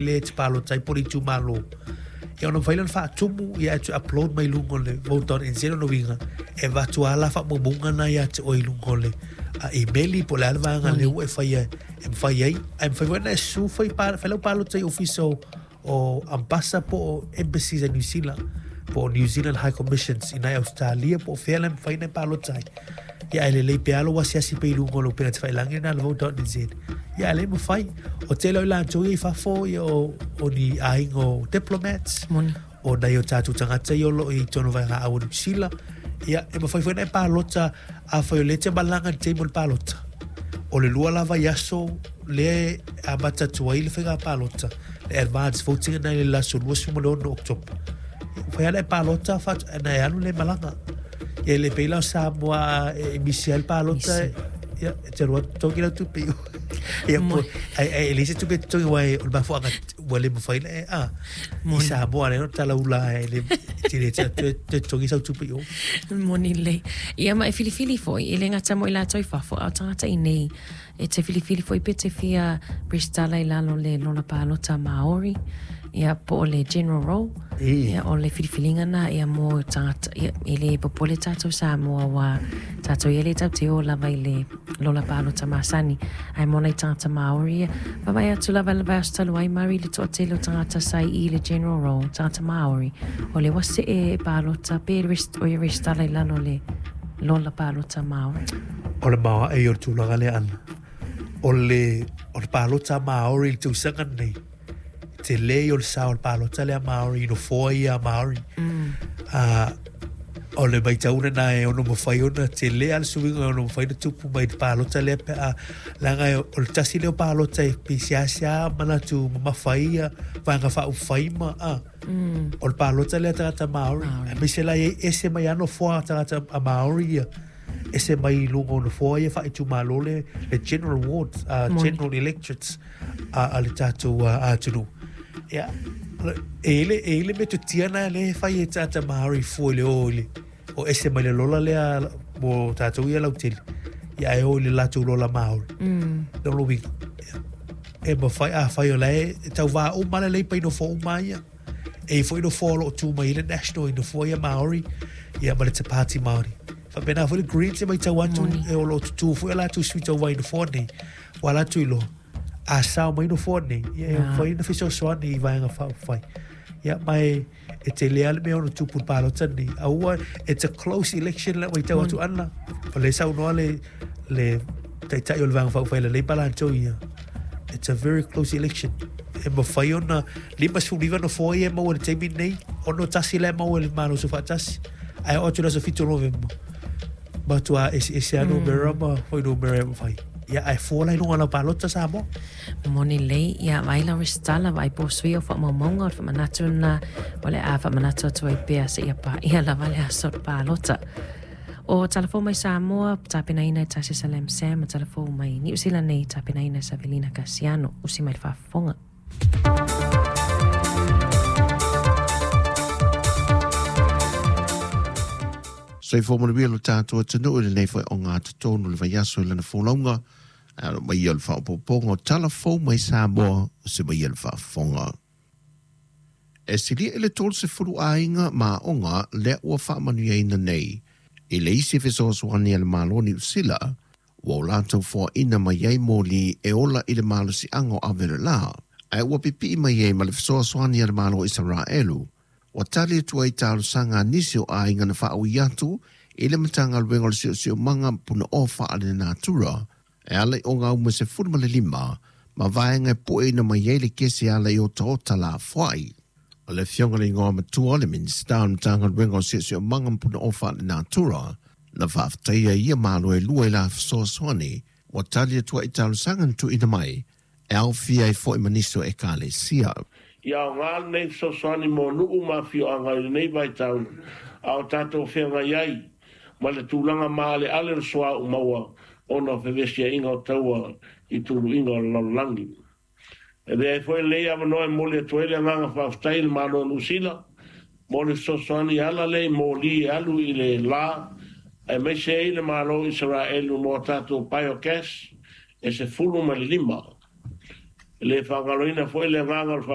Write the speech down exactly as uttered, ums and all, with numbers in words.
Lea e te palota ai po o le itumalo. Ia ona mafai lea ona faatumu, ia e toe upload mai i luga o le vote dot N Z. O lona uiga, e avatu lava la faamaumauga na ia te oe i luga o le imeli po o le a le vaega lea ua e faia e mafai ai. Ae mafai foi ona e susu fai, fai lau palota i ofisa o, o ambasa po o embassies a New Zealand po o New Zealand High Commissions i nai Australia po o fea la e mafai ona e palota ai. Ia ae lelei pea lou asiasi pea i luga o le upega tafailagi lena le vote dot N Z. Ia ae le mafai. O tele o i latou ia i fafo ia o, o ni aiga o diplomats. Moni. O nai o tātou tagata ia o loo i totonu o vaega au o Niu Sila. Ia e mafai foi ona e palota afai o lea e te malaga i le taimi o le palota. O le lua la vaiaso lea e amata atu ai le faiga palota, le advance voting lena i le aso luasefulu ma le ono o Oketopa. Ia mafai lava ona e palota faatoa e alu lea e malaga. Ia le pei la o Samoa e misi ai le palota, ia e te alu atu totogi lau tupe. Ia po ai ai le se tupe totogi aua o le mafuaaga ua le mafai ona e a i Samoa lea ona talaula e le te le te toe totogi sau tupe i o. Moni lelei. Ia ma e filifili foi, e le gata mo i latou i fafo, a o tagata i nei e te filifili foi pe te fia resitala i lalo le lola palota Māori, ia po o le general roll, ia o le filifiliga na ia mo tagata, ia e le popole tātou Samoa ua tātou ia le tau te o lava i le lola palota masani, ae mo nai tagata Māori ia, vaavaai atu lava i le vaiaso talu ai Mari le toatele o tagata sa i i le general roll, tagata Māori, o le ua see e palota pe rest, o ia resitala i lalo le lola palota Māori. O le maoae o le tulaga lea ana. O le, o le palota Māori i le tausaga nei, te lei o le sao o le palota lea Māori i nofoa ia a Māori. Mm. Uh, o le maitauna nā e ono mawhai ona, te lea le suiga e ono mawhai na tupu mai te palota lea pe a, leaga e o le tasi lea o palota e pisiasia manatu mamawhai ia, vaega whaauwhai ma, a. Mm. O le palota lea tagata Māori. Māori. A mise la e ese mai ano foa tagata a Māori ia, ese mai i luga o nofoa ia whaitumalo le, le general ward, uh, Moni. general electorates a, a le tātou uh, atunuu. Ia, e ile, e ile metotia na le whai e tāta Māori fua i le o i le, o ese mai le lola lea mo tātou ia lautele. Ia e o i le lātou lola Māori. Mm. No lo winga. Ia. E mawhai, a whai o le, e tau vā o mala lei pai nofoa uma ia. E i fo i nofoa o loo tū mai i le national, i nofoa ia Māori, ia ma le te pāti Māori. Whapena fo le Greens e mai tau atu, Moni. e o loo tutu fo e lātou sui tau vai nofoa nei. Wa lātou i loa. A sao mai nofoa nei. Ia e Ah. whai na fesoasoani i vaega whaufai. Ia mai e te lea le mea ono tupu palota nei. A ua, it's a close election le mai tau atu ana. O le saunoa le, le taitai o le vaega whaufai le leipa lātou ia. It's a very close election. E mawhai ona lima sefulu iva nofoa ia e maua le taimi nei. Ono tasi le maua le malo so whaatasi. Ai o atu le aso fitu o Novemba. Matua ese ese anu Mm. mera ma hoi no mera mawhai. Ia ai fō lai lunga lau palota Samoa. Moni lei, ia vai la resitala vai po sui o whaamaumauga o le whaamanatu na, o le a whaamanatu atu ai pea se ia pa, ia lava le aso o palota. O talafou mai Samoa, tapenaina e Tasi Salam Sam, talafou mai Niu Zealand nei, tapenaina e Savelina Cassiano, usi mai le faafofoga. Soifua manuia lo tātou atunuu i lenei foi o ngā totonu le vaiaso i lana folauga, a lo mai o le faaopoopoga o talafou mai Samoa o se mai o le faafofoga. E silia i le tolu sefulu aiga ma aoga lea ua faamanuiaina nei. I le isi fesoasoani a le Malo o Niu Sila, ua o latou foaina mai ai moli e ola i le malosiaga o ave le lā, ae ua pipii mai ai ma le fesoasoani a le Malo o Isaraelu. Ua tali atu ai talosaga a nisi o aiga na faaui atu i le Matagaluega o le Siosiomaga Punaoa Faalenatura e ala i ogauma sefulu ma le lima ma vaega e pueina mai ai le kesi ala i otaota lafoai. O le afioga le igoa matua le Minisita o le Matagaluega o Siosiomaga ma Punaoa Faalenatura na faafetaia ia malo e lua i la fesoasoani ua tali atu ai talosaga na tuuina mai e aofia ai foi ma nisi o ekalesia. Ia aoga lenei fesoasoani mo nuu ma afioaga i lenei vaitau, a o tatou feagai ai ma le tulaga maaleale o le suauu maua ona o fevesiaiga o taua i tuluiga o le lalolagi. E avea ai foi lenei avanoa e momoli atu ai le agaga faafetai i le Malo o Niu Sila mo le fesoasoani e ala lea i moli e alu i le lā, aemaise ai le Malo o Isaraelu mo a tatou biogas e sefulu ma le lima. E le faagaloina foi le agaga o le